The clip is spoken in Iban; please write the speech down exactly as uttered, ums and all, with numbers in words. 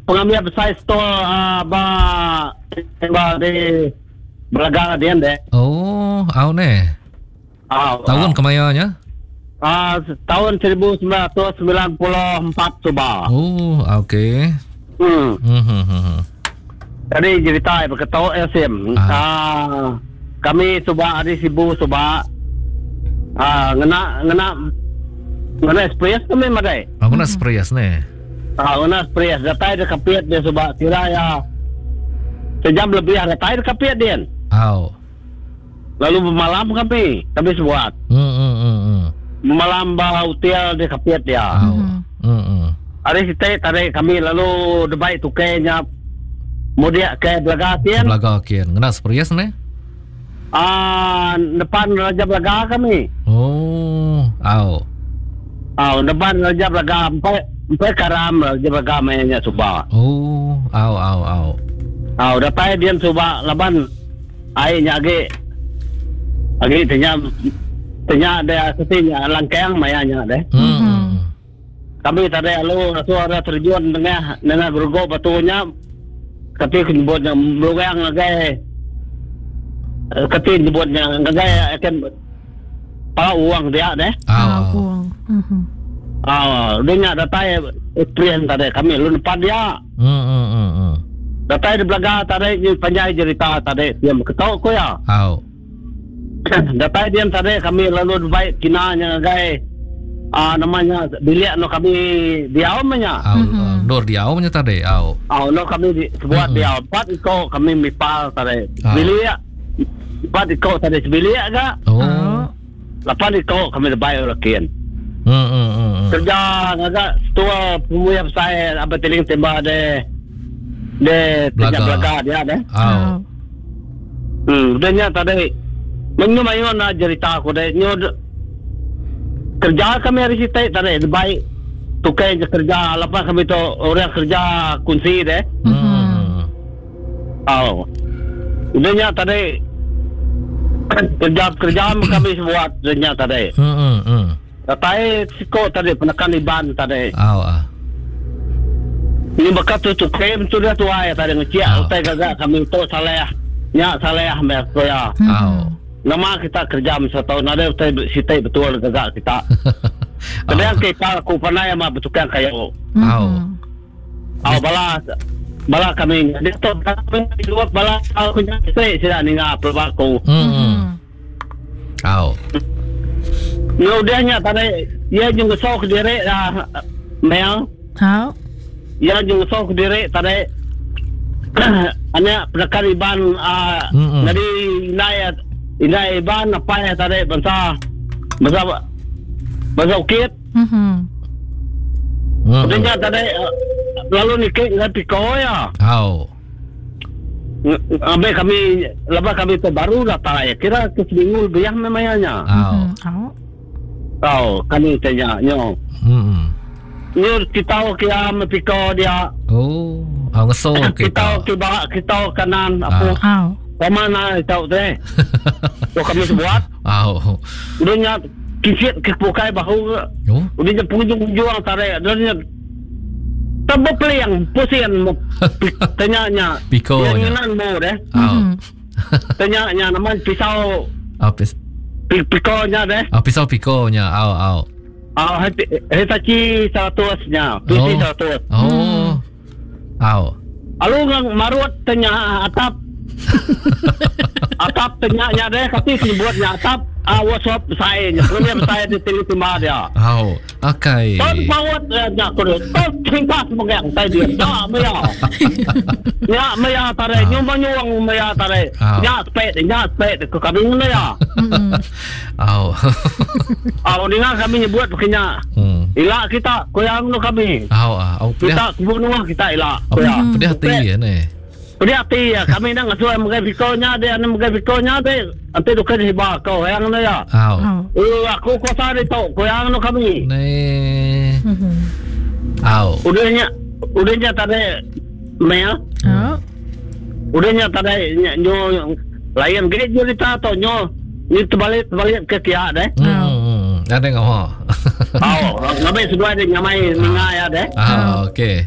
Pengambil besai store uh, ba ba di Belaga dia deh. Oh, au ne. Ah, Tahun kemayanya? Ah, tahun seribu sembilan ratus sembilan puluh empat suba. Oh, okey. Hmm. Hmm, hmm, hmm. Jadi cerita berketok ya sim. Ah. Ah, kami suba di Sibu suba. Ah, ngena ngena ngena express kami madai. Aku nak express ne. Ah, ngena express datai de Kapit dia suba kira ya sejam lebih datai de Kapit dia. Au. Lalu bermalam kami, kami sebuat. Hmm, hmm, hmm, hmm. Malam ba hotel di Kapit dia. Au. Hmm, hmm. Hari sitai tarik kami lalu debai tukainya mudik ke Belaga kian. Belaga kian. Ngena express ne? Ah, depan Raja Belaga kami. Oh, au. Ah, depan Raja Belaga empat empat karam Raja Belaga mainnya suba. Oh, au au au. Ah, datai dia suba laban airnya agi agi tanya tanya dia setinya langkang mayanya deh. Hmm. Kami tadi lalu suara terjun dengan dengan bergo batunya kati nyebutnya meluang ngagai kati nyebutnya ngagai akan pala uang dia deh. Au. Uang. Mhm. Ah, dia nak datai experience tadi kami lu depan dia. Hmm, hmm, hmm, hmm. Datai di Belaga tadi ni panjai cerita tadi dia ketok ko ya. Au. Datai dia tadi kami lalu baik kinanya ngagai ah namanya bilik no kami diau nya. Au, mm-hmm. Nur diau nya tadi. Au. Ah, no kami di, sebuat Mm-mm. diau empat iko kami mipal tadi. Ah. Bilik empat iko tadi sebilik ga. Oh. Lapan iko kami lebay lakin. Hmm, hmm, hmm, hmm. Kerja ngagak setua pemuya besar apa teling tembak de de Belaga. kerja Belaga dia deh. Au. Hmm, udahnya tadi menyu mayu nak cerita aku deh. Nyu kerja kami hari sitai tadi baik tukai je kerja lepas kami tu orang kerja kunci deh. Hmm. Oh. Udahnya tadi kerja kerja kami buat udahnya tadi. Hmm, hmm, hmm. Datai siko tadi penekan iban tadi. Au ah. Ini bekas tu tukai tu dia tuai tadi ngeciak Ah. utai gagak kami tu saleh. Nya saleh mer ya. Au. Nama kita kerja masa tahun ada utai sitai betul gagak kita. Kadang kita aku pandai ama bertukang kayu. Au. Au bala bala kami dia tu kami dua bala aku nyai sida ninga pelbaku. Hmm. hmm. Au. Ngudahnya tadi ia jung sok diri ah mel Au. ia jung sok diri tadi anak penekan iban ah Mm-mm. jadi inai inai iban apa ya tadi bangsa bangsa bangsa ukit. Mhm. Hmm. Udahnya tadi eh, lalu nikik ngan piko ya. Au. Ambil kami lepas kami tu baru datang ya. Kira ke seminggu lebih memangnya. Au. Au. Tahu kami tanya nyo. Hmm. Nyo kita kia piko dia. Oh, au ngeso Kita kita. kita kita kanan apa Au. mana tahu teh. So kami buat Au. udahnya kicit ke bukai bahu. Oh. Udahnya pengunjung-pengunjung tarik. Udahnya tebuk peliang pusing tanya nya. Piko Yang nya. nginan mu deh. Au. Tanya nya nama pisau Au pis pi- piko nya deh. au pisau piko nya. Au au. Ah, Hitachi seratus nya, P C Oh. seratus. Oh. Au. Alu ngang marut tanya atap. Atap tanya nya deh, kasi buatnya atap ah workshop saya nya. Punya saya di tili timah dia. Au. Akai. Ton pawat nya ko deh. Ton tingkas megang tai dia. Ya maya. Ya maya tare nyum nyuang maya tare. Ah. Ya spek ya spek ko kami ngene ya. Au. Ah dengar kami nyebut begini. Hmm. Ilak kita koyang no kami. Au ah. Au pedih. Kita bunuh kita ilak. Au Koyang. pedih hati ya ni. Pedih hati ya. Kami nak ngasuh megai pikonya dia, nak megai pikonya dia. Nanti tu kena hibah kau yang no ya. Au. Au. Eh, aku kuasa dia tau koyang no kami. Ni. Au. Udahnya, udahnya tadi mel. Au. Udahnya tadi nyo layan gede cerita tau nyo ni terbalik terbalik ke kia deh. Hmm. Ada ngau. Au, ngabai seduai dia nyamai ninga ya deh. Ah, okey.